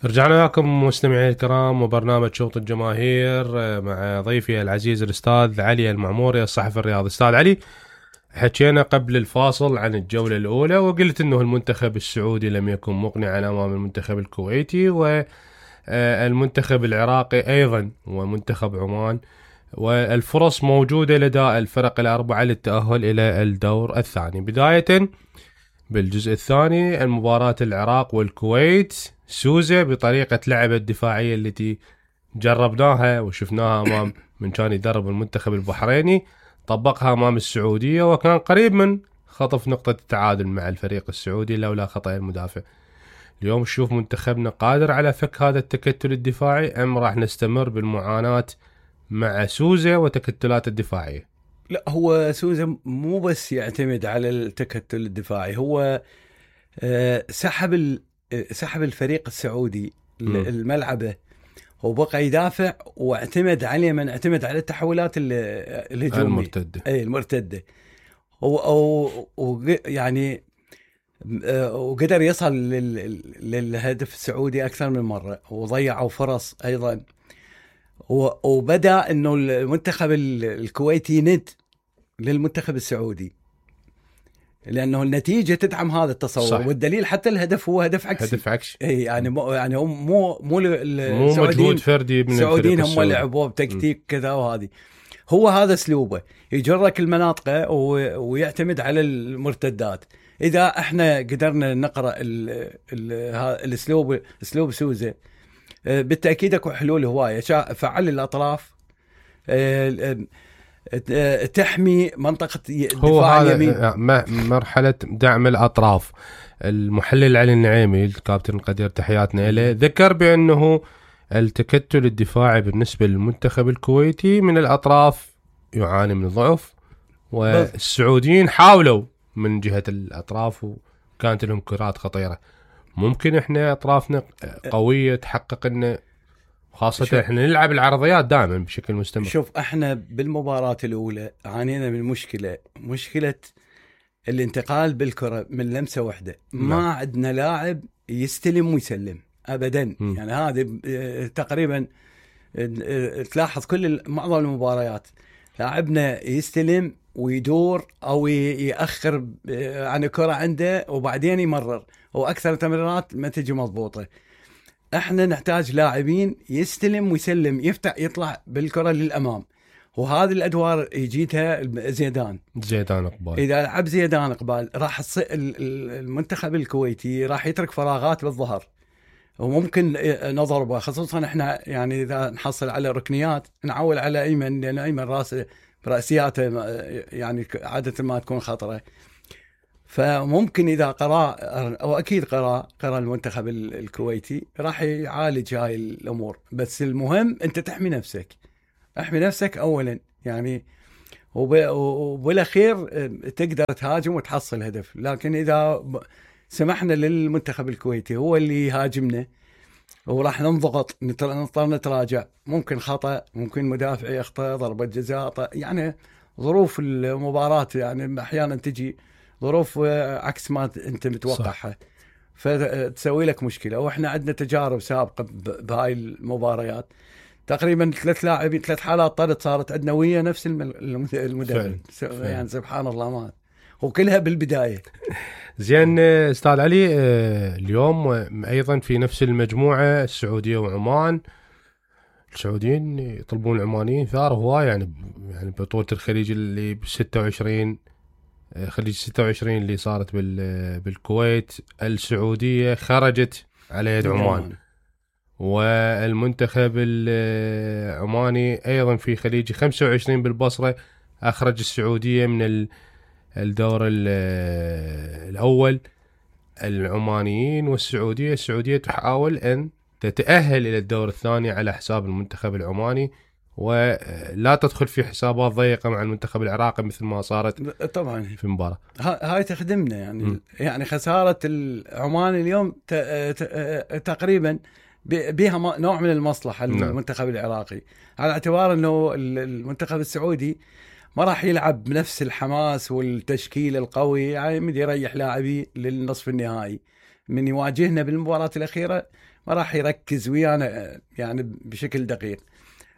رجعنا لكم مستمعي الكرام وبرنامج شوط الجماهير مع ضيفي العزيز الأستاذ علي المعموري الصحفي الرياضي. أستاذ علي، حكينا قبل الفاصل عن الجولة الأولى وقلت أنه المنتخب السعودي لم يكن مقنعا أمام المنتخب الكويتي والمنتخب العراقي أيضا ومنتخب عمان، والفرص موجودة لدى الفرق الأربعة للتأهل إلى الدور الثاني. بداية بالجزء الثاني، المباراة العراق والكويت، سوزة بطريقة لعب الدفاعية التي جربناها وشفناها أمام من كان يدرب المنتخب البحريني، طبقها أمام السعودية وكان قريب من خطف نقطة التعادل مع الفريق السعودي لولا خطأ المدافع. اليوم نشوف منتخبنا قادر على فك هذا التكتل الدفاعي أم راح نستمر بالمعاناة مع سوزة وتكتلات الدفاعية؟ لا، هو سوزا مو بس يعتمد على التكتل الدفاعي، هو سحب الفريق السعودي الملعبه وبقى يدافع واعتمد عليه، من اعتمد على التحولات الهجوميه المرتده يعني وقدر يصل للهدف السعودي اكثر من مره وضيعوا فرص ايضا. وبدأ انه المنتخب الكويتي يند للمنتخب السعودي لانه النتيجه تدعم هذا التصور. صح. والدليل حتى الهدف هو هدف عكسي. اي يعني مو مجهود فردي من السعوديين، هم لعبوا بتكتيك كذا، وهذه هو هذا اسلوبه، يجرك المناطق ويعتمد على المرتدات. اذا احنا قدرنا نقرا اسلوب سوزة، بالتأكيد اكو حلول هواية. فعل الأطراف، تحمي منطقة دفاع اليمين. مرحلة دعم الأطراف. المحلل علي النعيمي الكابتن القدير تحياتنا له ذكر بأنه التكتل الدفاعي بالنسبة للمنتخب الكويتي من الأطراف يعاني من ضعف، والسعوديين حاولوا من جهة الأطراف وكانت لهم كرات خطيرة. ممكن احنا اطرافنا قويه تحقق لنا، خاصه احنا نلعب العرضيات دائما بشكل مستمر. شوف، احنا بالمباراه الاولى عانينا من مشكله الانتقال بالكره من لمسه واحده. ما عندنا لاعب يستلم ويسلم ابدا. يعني هذه تقريبا تلاحظ معظم المباريات لاعبنا يستلم ويدور او ياخر عن الكره عنده وبعدين يمرر، واكثر التمريرات ما تجي مضبوطه. احنا نحتاج لاعبين يستلم ويسلم، يطلع بالكره للامام، وهذه الادوار يجيتها زيدان قبال. اذا لعب زيدان قبال راح المنتخب الكويتي راح يترك فراغات بالظهر وممكن نضربه، خصوصا احنا يعني اذا نحصل على ركنيات نعول على ايمن، لان ايمن راسياته يعني عاده ما تكون خطره. فممكن إذا قرأ، أو أكيد قرأ المنتخب الكويتي راح يعالج هاي الأمور. بس المهم أنت تحمي نفسك أولا يعني، وبالأخير تقدر تهاجم وتحصل هدف. لكن إذا سمحنا للمنتخب الكويتي هو اللي يهاجمنا وراح نضغط، نضطر نتراجع، ممكن خطأ، ممكن مدافع يخطأ، ضربة جزاء، يعني ظروف المباراة يعني أحيانا تجي ظروف عكس ما انت متوقعها، فتسوي لك مشكله. واحنا عندنا تجارب سابقه بهاي المباريات، تقريبا 3 حالات طرد صارت عندنا ويا نفس المدرب. يعني سبحان الله، ما وكلها بالبدايه. زين استاذ علي، اليوم ايضا في نفس المجموعه السعوديه وعمان، السعوديين يطلبون العمانيين ثار هواي، يعني بطوله الخليج اللي ب 26 خليج 26 اللي صارت بالكويت، السعودية خرجت على يد عمان، والمنتخب العماني أيضا في خليج 25 بالبصرة أخرج السعودية من الدور الأول. العمانيين والسعودية، السعودية تحاول أن تتأهل إلى الدور الثاني على حساب المنتخب العماني، ولا تدخل في حسابات ضيقة مع المنتخب العراقي مثل ما صارت طبعا في مباراة. هاي تخدمنا يعني. يعني خسارة العمان اليوم تقريبا بها نوع من المصلحة للمنتخب العراقي، على اعتبار انه المنتخب السعودي ما راح يلعب بنفس الحماس والتشكيل القوي، يعني يريح لاعبي للنصف النهائي. من يواجهنا بالمباراة الأخيرة ما راح يركز ويانا يعني بشكل دقيق.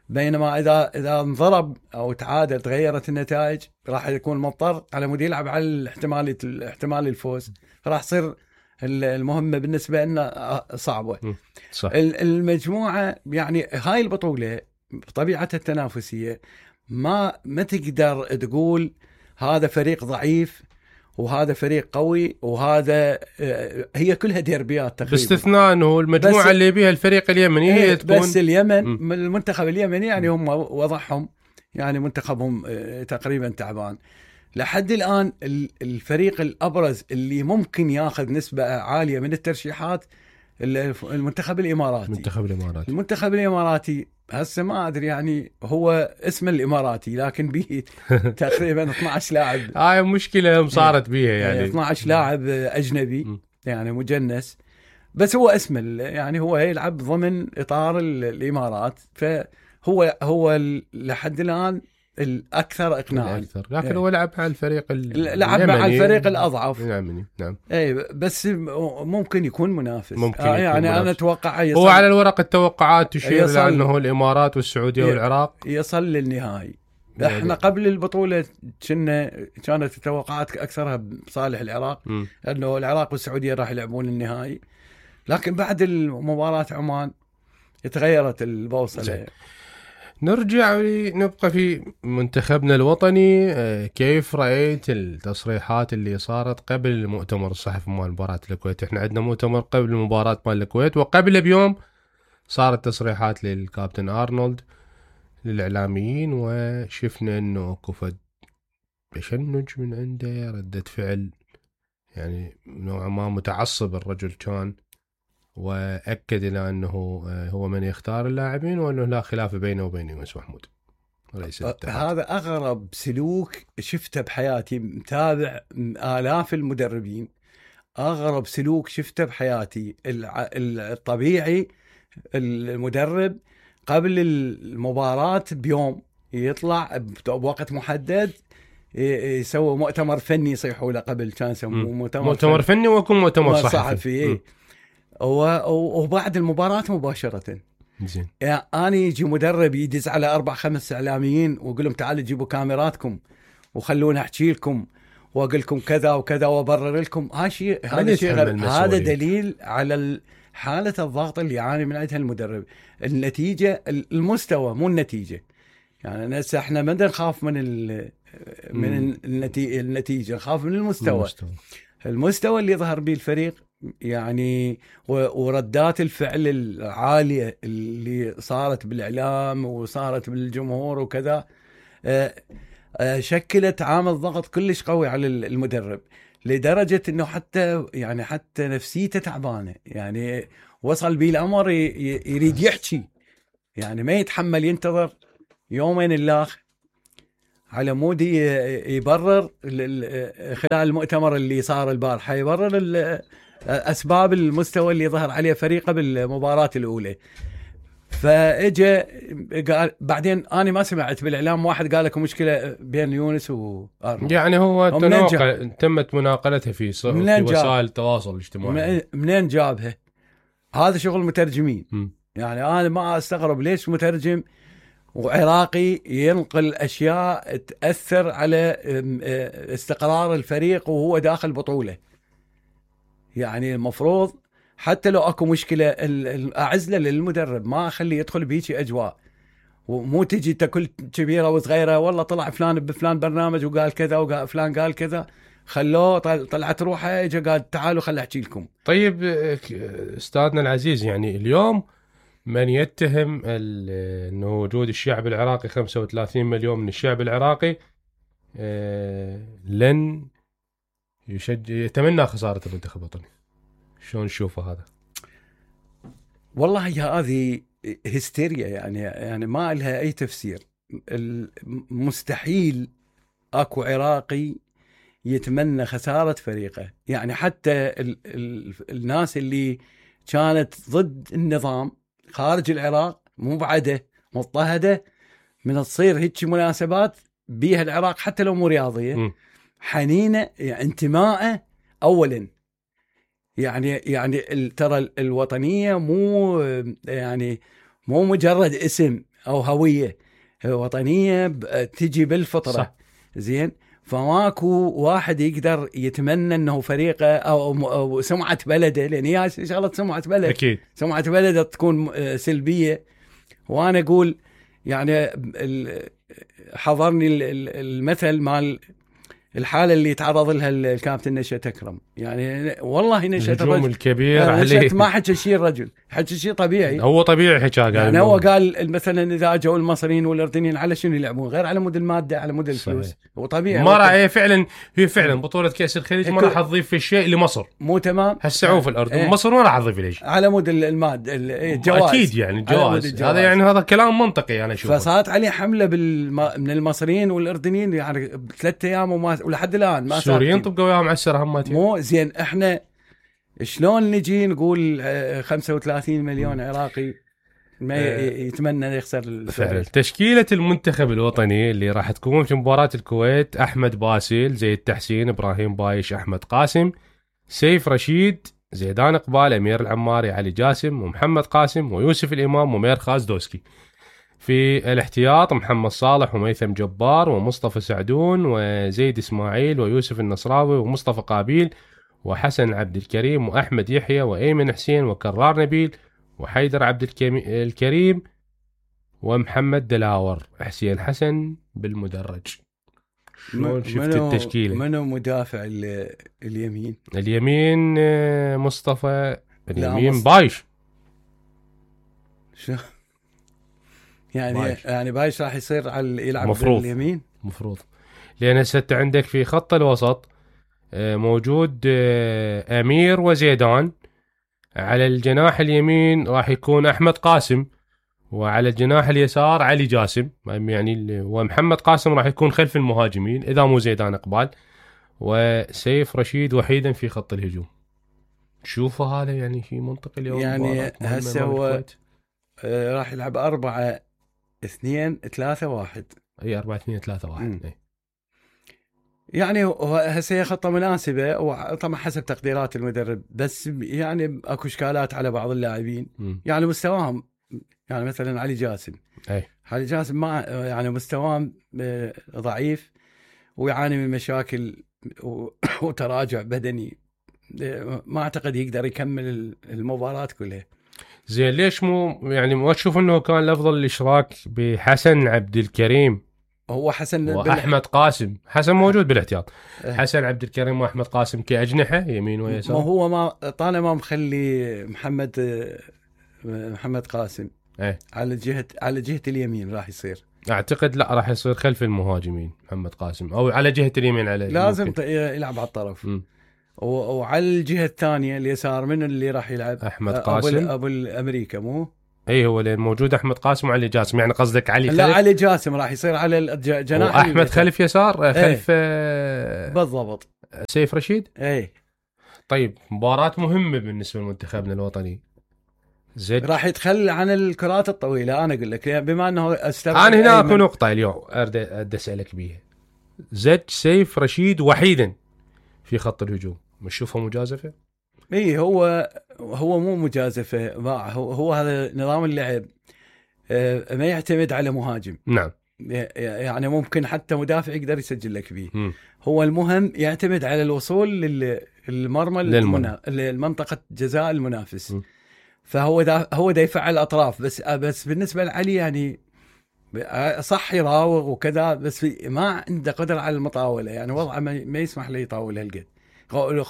بينما إذا انضرب أو تعادل تغيرت النتائج راح يكون مضطر على مود يلعب على احتمال الفوز، راح تصير المهمة بالنسبة لنا صعبة. صح. المجموعة يعني هاي البطولة بطبيعتها التنافسية ما تقدر تقول هذا فريق ضعيف وهذا فريق قوي وهذا هي كلها ديربيات تقريبا، باستثناء انه المجموعه اللي بيها الفريق اليمني هي تكون بس اليمن المنتخب اليمني يعني هم وضعهم يعني منتخبهم تقريبا تعبان لحد الان. الفريق الابرز اللي ممكن ياخذ نسبه عاليه من الترشيحات المنتخب المنتخب الاماراتي هسه ما ادري يعني هو اسم الاماراتي لكن به تقريبا 12 لاعب. هاي مشكله صارت بيها يعني 12 لاعب اجنبي يعني مجنس، بس هو اسم يعني هو يلعب ضمن اطار الامارات، فهو لحد الان الاكثر اقناعا. لكن هو لعب مع الفريق لعب مع الفريق الاضعف. نعم. اي بس ممكن يكون منافس. يعني انا اتوقع هو على الورق التوقعات تشير الى انه الامارات والسعوديه والعراق يصل للنهائي. احنا قبل البطوله كانت التوقعات اكثرها بصالح العراق انه العراق والسعوديه راح يلعبون النهائي، لكن بعد المباراه عمان تغيرت البوصله. نرجع نبقى في منتخبنا الوطني. كيف رأيت التصريحات اللي صارت قبل المؤتمر الصحفي مال مباراة الكويت؟ احنا عندنا مؤتمر قبل مباراة مال الكويت، وقبل بيوم صارت تصريحات للكابتن أرنولد للإعلاميين، وشفنا انه كفد تشنج من عنده، ردة فعل يعني نوعا ما متعصب الرجل كان، وأكد إلى أنه هو من يختار اللاعبين وأنه لا خلاف بينه وبين يونس محمود رئيس الاتحاد. هذا أغرب سلوك شفته بحياتي، متابع آلاف المدربين، أغرب سلوك شفته بحياتي. الطبيعي المدرب قبل المباراة بيوم يطلع بوقت محدد يسوي مؤتمر فني، يصيحوا له قبل كان يسموه مؤتمر فني ويكون مؤتمر صحفي. وبعد المباراة مباشرة زين يعني أنا يجي مدرب يدز على 4-5 إعلاميين ويقول لهم تعالوا جيبوا كاميراتكم وخلونا أحكي لكم وأقول لكم كذا وكذا وأبرر لكم. هذا دليل على حالة الضغط اللي يعاني من عندها المدرب. النتيجة المستوى مو النتيجة، يعني احنا ما نخاف من النتيجة، نخاف من المستوى اللي ظهر به الفريق يعني، وردات الفعل العالية اللي صارت بالإعلام وصارت بالجمهور وكذا شكلت عامل ضغط كلش قوي على المدرب، لدرجة انه حتى نفسيته تعبانة. يعني وصل به الأمر يريد يحكي، يعني ما يتحمل ينتظر يومين اللاخ على مود يبرر خلال المؤتمر اللي صار البارحة، يبرر أسباب المستوى اللي ظهر عليه فريقه بالمباراة الأولى. فاجا قال بعدين انا ما سمعت بالاعلام واحد قال لك مشكله بين يونس وارنولد، يعني هو تمت مناقلتها في وسائل التواصل الاجتماعي. منين جابها؟ هذا شغل مترجمين. يعني انا ما استغرب ليش مترجم وعراقي ينقل اشياء تاثر على استقرار الفريق وهو داخل بطوله. يعني المفروض حتى لو اكو مشكله اعزله للمدرب، ما اخليه يدخل بهيجي اجواء، ومو تجي تكل كبيره وصغيره والله طلع فلان بفلان برنامج وقال كذا وقال فلان قال كذا، خلوه طلعت روحه اجى قال تعالوا خل احكي لكم. طيب استاذنا العزيز، يعني اليوم من يتهم انه وجود الشعب العراقي 35 مليون من الشعب العراقي لن يتمنى خساره المنتخب الوطني، شلون تشوفه هذا؟ والله هذه هستيريا، يعني ما لها اي تفسير. مستحيل اكو عراقي يتمنى خسارة فريقه. يعني حتى الناس اللي كانت ضد النظام خارج العراق مو بعده مضطهدة من تصير هيك مناسبات بيها العراق حتى لو مو رياضية، حنينة يعني انتماءه اولا. يعني ترى الوطنيه مو يعني مو مجرد اسم او هويه، وطنيه تجي بالفطره. صح. زين، فماكو واحد يقدر يتمنى انه فريقه او سمعه بلده، لان هي شغله سمعه بلد. اكيد سمعه بلده تكون سلبيه. وانا اقول يعني حضرني المثل مال الحاله اللي تعرض لها الكابتن نشأت أكرم. يعني والله نشأت الهجوم الرجل الكبير عليه، ما حكى شيء الرجل، حكى شيء طبيعي. هو طبيعي حكى قال يعني هو قال مثلا اذا اجوا المصريين والاردنيين على شنو يلعبون غير على مود الماده، على مود الفلوس. هو طبيعي ما راح فعلا، هي فعلا بطوله كاس الخليج ما راح تضيف في شيء لمصر، مو تمام. هالسعوف الأردن مصر ما راح تضيف ليش على مود الماده الجواز. اكيد يعني الجواز هذا، يعني هذا كلام منطقي انا اشوفه. فصارت عليه حمله من المصريين والاردنيين يعني بثلاث ايام ولحد الان ما السوريين طبقوا وياهم على السر هماتين. مو زين، احنا شلون نجي نقول 35 مليون عراقي ما يتمنى يخسر فعلا. تشكيلة المنتخب الوطني اللي راح تكون في مباراة الكويت: أحمد باسل، زيد تحسين، إبراهيم بايش، أحمد قاسم، سيف رشيد، زيدان إقبال، أمير العماري، علي جاسم، ومحمد قاسم، ويوسف الإمام، ومير خازدوسكي. في الاحتياط: محمد صالح، وميثم جبار، ومصطفى سعدون، وزيد إسماعيل، ويوسف النصراوي، ومصطفى قابيل، وحسن عبد الكريم، وأحمد يحيى، وأيمن حسين، وكرار نبيل، وحيدر عبد الكريم، ومحمد دلاور. حسين حسن بالمدرج. شلون شفت التشكيلة؟ منو مدافع اليمين؟ اليمين مصطفى، اليمين بايش. شو يعني يعني بايش راح يصير يلعب مفروض. باليمين مفروض، لأن هسه عندك في خط الوسط موجود أمير وزيدان. على الجناح اليمين راح يكون أحمد قاسم، وعلى الجناح اليسار علي جاسم يعني، ومحمد قاسم راح يكون خلف المهاجمين إذا مو زيدان إقبال، وسيف رشيد وحيدا في خط الهجوم. شوفوا هذا يعني في منطقة اليوم يعني هسه هو راح يلعب 4-2-3-1. اي 4-2-3-1. اي يعني هسه خطة مناسبة، وطبعا حسب تقديرات المدرب، بس يعني اكو اشكالات على بعض اللاعبين يعني مستواهم. يعني مثلا علي جاسم، علي جاسم ما يعني مستواه ضعيف، ويعاني من مشاكل وتراجع بدني. ما اعتقد يقدر يكمل المباراة كلها. زين، ليش مو يعني ما تشوف انه كان الافضل الاشراك بحسن عبد الكريم؟ هو حسن واحمد قاسم. حسن موجود بالاحتياط. حسن عبد الكريم واحمد قاسم كاجنحه يمين ويسار. ما هو ما طالما مخلي محمد قاسم على جهة اليمين راح يصير. اعتقد لا، راح يصير خلف المهاجمين محمد قاسم، او على جهة اليمين. على لازم يلعب على الطرف. وعلى الجهة الثانية اليسار من اللي راح يلعب؟ أحمد قاسم أبو الأمريكا مو؟ أي هو اللي موجود أحمد قاسم وعلي جاسم. يعني قصدك علي خلف؟ لا، علي جاسم راح يصير على الجناح، أحمد خلف يسار خلف بالضبط سيف رشيد. أي طيب، مباراة مهمة بالنسبة لمنتخبنا الوطني. زج راح يتخلى عن الكرات الطويلة. أنا أقول لك بما أنه أنا هنا أكو نقطة اليوم أرد أسألك بيها. زج سيف رشيد وحيدا في خط الهجوم، مش شوفه مجازفة؟ اي هو مو مجازفة. هو هذا نظام اللعب ما يعتمد على مهاجم. نعم، يعني ممكن حتى مدافع يقدر يسجل لك فيه. هو المهم يعتمد على الوصول للمرمى للمنطقة جزاء المنافس. فهو هو دا يفعل اطراف بس بالنسبة لعلي يعني صح يراوغ وكذا، بس ما عنده قدرة على المطاولة. يعني وضعه ما يسمح له يطاول هالقد.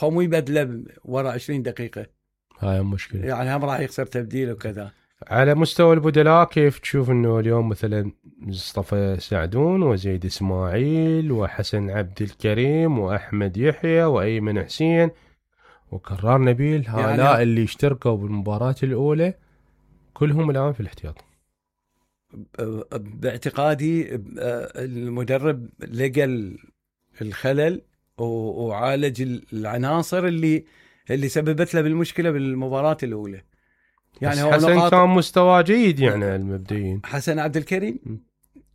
مو يبدله ورا 20 دقيقة. هاي مشكلة. يعني هم راح يخسر تبديل وكذا. على مستوى البدلاء كيف تشوف انه اليوم مثلا مصطفى سعدون وزيد اسماعيل وحسن عبد الكريم واحمد يحيى وايمن حسين وكرار نبيل، هؤلاء يعني اللي اشتركوا بالمباراة الاولى كلهم الان في الاحتياط؟ باعتقادي المدرب لقى الخلل وعالج العناصر اللي سببت له بالمشكلة بالمباراة الأولى. يعني هو حسن كان مستوى جيد يعني المبدئيين. حسن عبد الكريم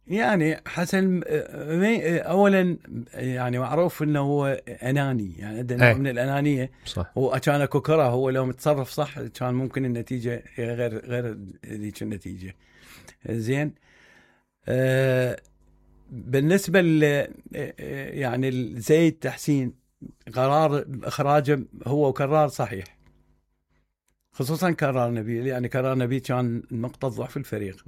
يعني حسن اولا يعني معروف انه هو اناني، يعني عنده نوع من الانانيه. صح. هو كان اكو كره، هو لو متصرف صح كان ممكن النتيجه غير ذيك النتيجه. زين. بالنسبه يعني زيد تحسين قرار اخراجه هو قرار صحيح، خصوصا قرار نبيل. يعني قرار نبيل كان نقطه ضعف الفريق.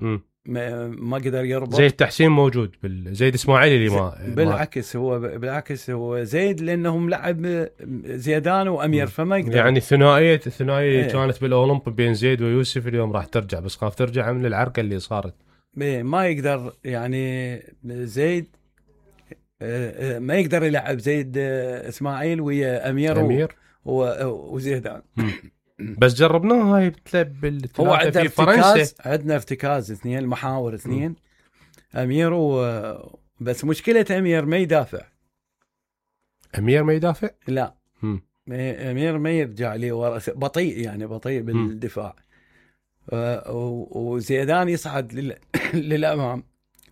ما قدر يربط. زيد تحسين موجود زيد اسماعيلي اللي بالعكس هو زيد لانه ملعب زيدان وامير، فما يقدر. يعني الثنائيه اللي كانت بالاولمب بين زيد ويوسف اليوم راح ترجع، بس خاف ترجع من العركه اللي صارت. ما يقدر يعني زيد ما يقدر يلعب زيد اسماعيل ويا امير وزيدان. بس جربناها هاي هو في فرنسا. عندنا ارتكاز اثنين، محاور اثنين، امير بس مشكله امير ما يدافع. امير ما يدافع؟ لا. امير ما يرجع لي ورا، بطيء يعني بطيء بالدفاع. وزيدان يصعد للامام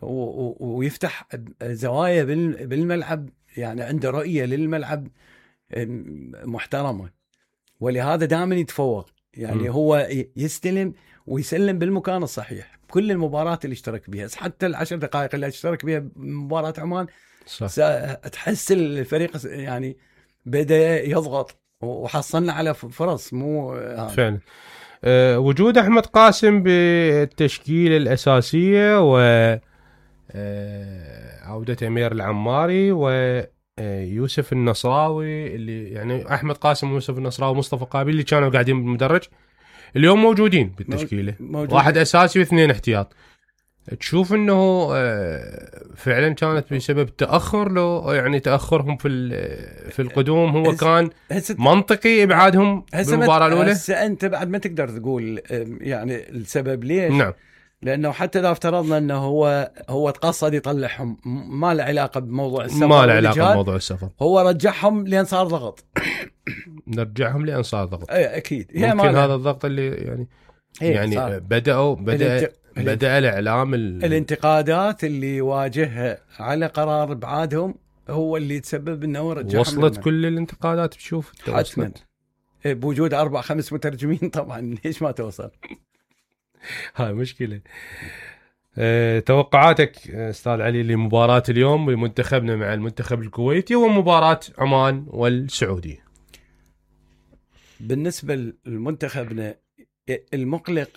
ويفتح زوايا بالملعب، يعني عنده رؤيه للملعب محترمه، ولهذا دائما يتفوق. يعني هو يستلم ويسلم بالمكان الصحيح كل المباراة اللي اشترك بها، حتى العشر دقائق اللي اشترك بها بمباراة عمان. صح. تحس الفريق يعني بدأ يضغط وحصلنا على فرص مو فعلا. وجود أحمد قاسم بالتشكيلة الأساسية وعودة أمير العماري ويوسف النصراوي، اللي يعني أحمد قاسم ويوسف النصراوي ومصطفى قابل اللي كانوا قاعدين بالمدرج اليوم موجودين بالتشكيلة. واحد أساسي واثنين احتياط. تشوف انه فعلا كانت بسبب تاخر، لو يعني تاخرهم في القدوم هو كان منطقي ابعادهم بالمباراه الاولى؟ هسه انت بعد ما تقدر تقول يعني السبب ليش. نعم. لانه حتى اذا افترضنا انه هو تقصد يطلعهم، ما له علاقه بموضوع السفر. ما له علاقه بموضوع السفر، هو رجعهم لين صار ضغط. نرجعهم لين صار ضغط. اكيد. ممكن هذا الضغط اللي يعني بدأ الإعلام الانتقادات اللي واجهها على قرار ابعادهم هو اللي تسبب انه رجعهم. وصلت كل الانتقادات بشوف حتما بوجود 4-5 مترجمين طبعا ليش ما توصل. هاي مشكلة. توقعاتك استاذ علي لمباراة اليوم لمنتخبنا مع المنتخب الكويتي ومباراة عمان والسعودية؟ بالنسبة لمنتخبنا المقلق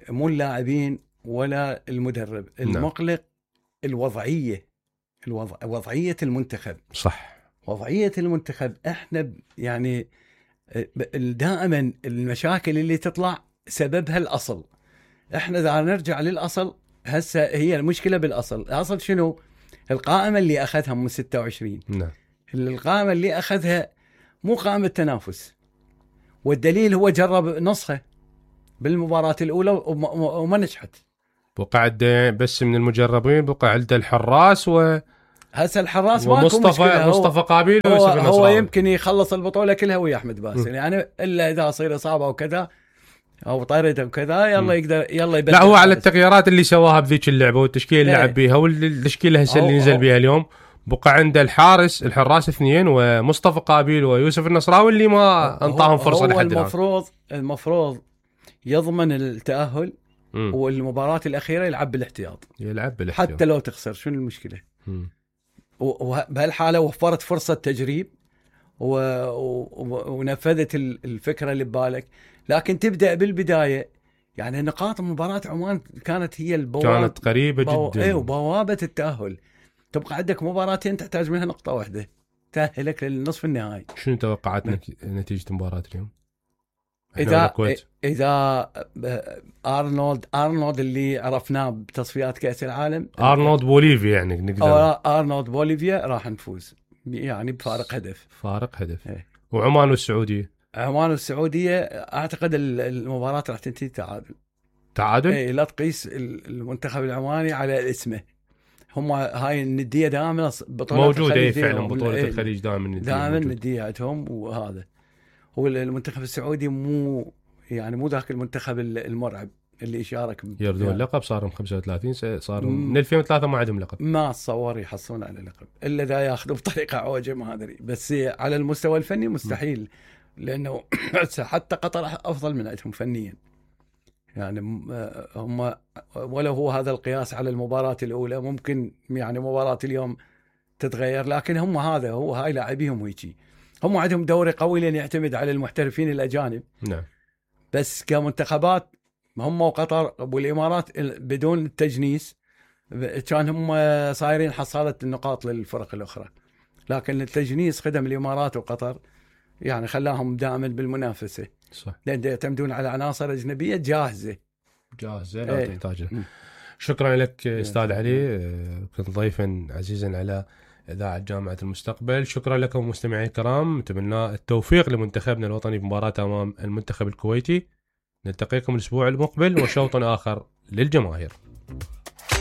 مو اللاعبين ولا المدرب، المقلق وضعية المنتخب. صح. وضعية المنتخب احنا يعني دائما المشاكل اللي تطلع سببها الأصل. احنا اذا نرجع للأصل هسه هي المشكلة بالأصل. الأصل شنو؟ القائمة اللي أخذها من 26. نعم. القائمة اللي أخذها مو قائمة تنافس، والدليل هو جرب نسخة بالمباراة الأولى وما نجحت. بقى بس من المجربين بقى عنده الحراس هسه الحراس مصطفى قابيل هو يمكن يخلص البطولة كلها ويا أحمد باسل، يعني إلا إذا صير إصابة وكذا أو طرد وكذا يلا يبدأ. لا هو على التغييرات اللي سواها بذيك اللعبة والتشكيلة اللي لعب بيها والتشكيلة هسه اللي نزل بيها اليوم، بقى عنده الحراس 2 ومصطفى قابيل ويوسف النصراوي اللي ما انطاهم فرصة لحد الآن. المفروض يضمن التأهل والمباراة الأخيرة يلعب بالاحتياط حتى لو تخسر، شنو المشكلة؟ وبهالحالة وفرت فرصة تجريب ونفذت الفكرة اللي ببالك. لكن تبدأ بالبداية، يعني نقاط مباراة عمان كانت هي كانت قريبة جدا وبوابة التأهل. تبقى عندك مباراتين تحتاج منها نقطة واحدة تأهلك للنصف النهائي. شنو توقعات نتيجة مباراة اليوم؟ إذا أرنولد اللي عرفناه بتصفيات كأس العالم، أرنولد بوليفيا يعني نقدر أرنولد بوليفيا راح نفوز يعني بفارق هدف. وعمان والسعودية أعتقد المباراة راح تنتهي تعادل. لا تقيس المنتخب العماني على اسمه، هم هاي الندية دائما موجودة فعلا بطولة الخليج دائما ندية عندهم. وهذا هو المنتخب السعودي مو ذاك المنتخب المرعب اللي يشارك يردون اللقب. صاروا 35 سنة، صاروا من 2003 ما عندهم لقب. ما اتصور يحصلون على لقب الا اذا ياخذوا بطريقه عوجه، ما ادري، بس على المستوى الفني مستحيل. لانه حتى قطر افضل من عندهم فنيا. يعني هم ولو هو هذا القياس على المباراة الأولى، ممكن يعني مباراة اليوم تتغير، لكن هم هذا هو هاي لاعبيهم ويجي. هم عندهم دوري قوي لأن يعتمد على المحترفين الأجانب. نعم. بس كمنتخبات هم وقطر والإمارات بدون التجنيس كان هم صايرين حصالة النقاط للفرق الأخرى، لكن التجنيس خدم الإمارات وقطر يعني خلاهم دائما بالمنافسة. صح. لأن يعتمدون على عناصر أجنبية جاهزة لا تحتاجها. شكرا لك أستاذ علي، كنت ضيفا عزيزا على إذاعة جامعة المستقبل. شكرا لكم مستمعي الكرام، نتمنى التوفيق لمنتخبنا الوطني بمباراة أمام المنتخب الكويتي. نلتقيكم الأسبوع المقبل وشوط آخر للجماهير.